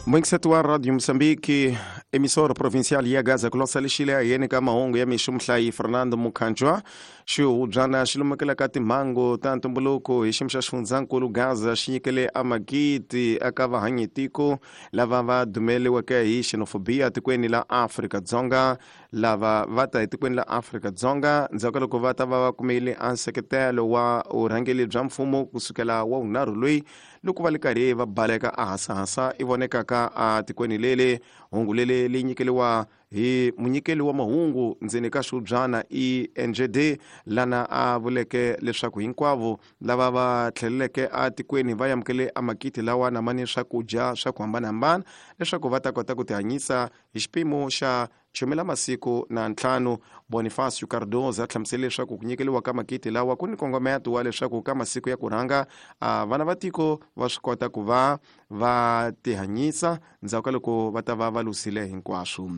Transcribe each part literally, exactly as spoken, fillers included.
Muingiseti wa Radio Mozambique, emissora provincial ya Gaza, ku losa lexile ayeni ka mahungu ya mixo muhlayi Fernando Mukhanjwa. Xihubyana xi lumekela ka timhangu ta ntumbuluko hi xiyimo xa xifundzankulu Gaza xi nyikele amagidi eka vahanyitiko lava va dumeliweke hi xenophobia tikweni la Afrika-Dzonga, lava va ta etikweni la Afrika-Dzonga ndzhaku ka loko va ta va va kumile a nseketelo wa vurhangeri bya mfumo kusukela wa vunharhu loyi loko va le karhi va baleka a hasahasa i vonekaka a tikweni lele. Hungu lele li nyikeliwa hi munyikeli wa mahungu ndzeni ka xihubyana E N G D, lana a vuleke leswaku hinkwavo lava va tlheleleke atikweni va amukele amakiti lawa na mani swakudya swa ku hambanahambana leswaku va ta kota ku tihanyisa hi xipimo xa chumela masiku na ntlhanu. Bonifacio Cardoza a hlamusele leswaku ku nyikeliwa ka makiti lawa ku ni nkongometo wa leswaku ka masiku ya ku rhanga vana va tiko va swi kota ku va va tihanyisa ndzhaku ka loko va ta va va lusile hinkwaswo.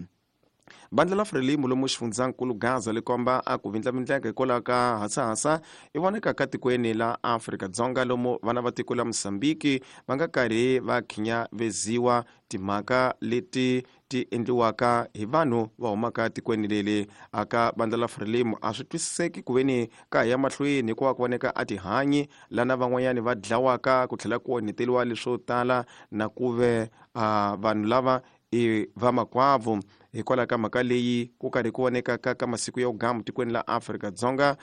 Bandla la Frelimo lomu xifundzankulu Gaza li komba a ku vindlavindleka hikwalaho ka hasahasa i voneka ka tikweni la Afrika-Dzonga lomu vana va tiko la Mozambique va nga karhi va khinyaveziwa timhaka leti ti endliwaka hi vanhu va humaka tikweni leli. Aka bandla la Frelimo a swi twisiseki ku veni ka ya mahlweni hikuva ku voneka a tihanyi lana van'wanyani va dlawaka ku tlhela ku onheteliwa leswo tala na ku ve vanhu lava i vamakwavo. Hikwalaho ka mhaka leyi ku karhi ku voneka ka ka masiku ya vugamu tikweni la Afrika-Dzonga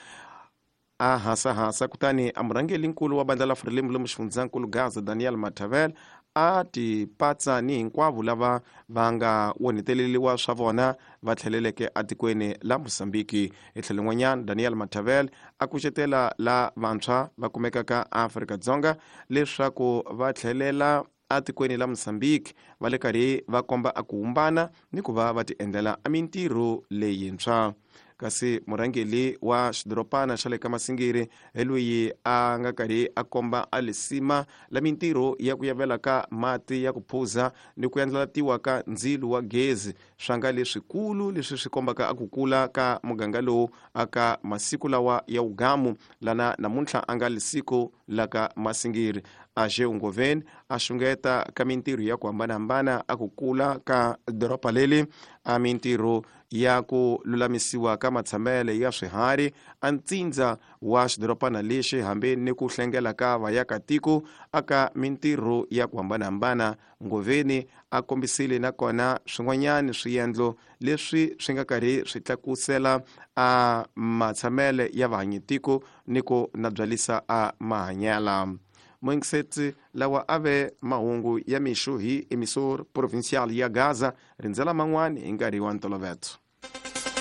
a hasahasa, kutani a murhangeri-nkulu wa bandla la Frelimo lomu xifundzankulu Gaza Daniel Mathavel a tipatsa ni hinkwavo lava va nga onheteleriwa swa vona va tlheleleke atikweni la Mozambique. Hi tlhelo rin'wanyana Daniel Mathavel a kucetela la vantshwa va kumekaka Afrika-Dzonga leswaku va tlhelela atikweni la Mozambique va le karhi va komba a ku humbana ni ku va va ti endlela a mintirho leyintshwa. Kasi murhangeri wa xidorobana xa le ka Masingiri hi loyi a nga karhi a komba a lisima la mintirho ya ku yavela ka mati ya ku phuza ni ku endlatiwa ka ndzilo wa gezi swa nga leswikulu leswi swi kombaka a ku kula ka muganga lowu aka masiku lawa ya ugamu lana namuntlha a nga lisiko la ka Masingiri. Aje Ngoveni a xungeta ka mintirho ya ku hambanahambana a ku kula ka doroba leli, a mintirho ya ku lulamisiwa ka matshamele ya swiharhi a ntsindza wa xidorobana lexi hambi ni ku hlengela ka vayakatiko aka mintirho ya ku hambanahambana. Ngoveni a kombisile nakona swin'wanyana swiendlo leswi swi nga karhi swi tlakusela a matshamele ya vahanyitiko ni ku nabyalisa a mahanyela. Muingiseti lawa a ve mahungu ya mixo hi emissor provincial ya Gaza, rindzela man'wani hi nkarhi wa ntoloveto.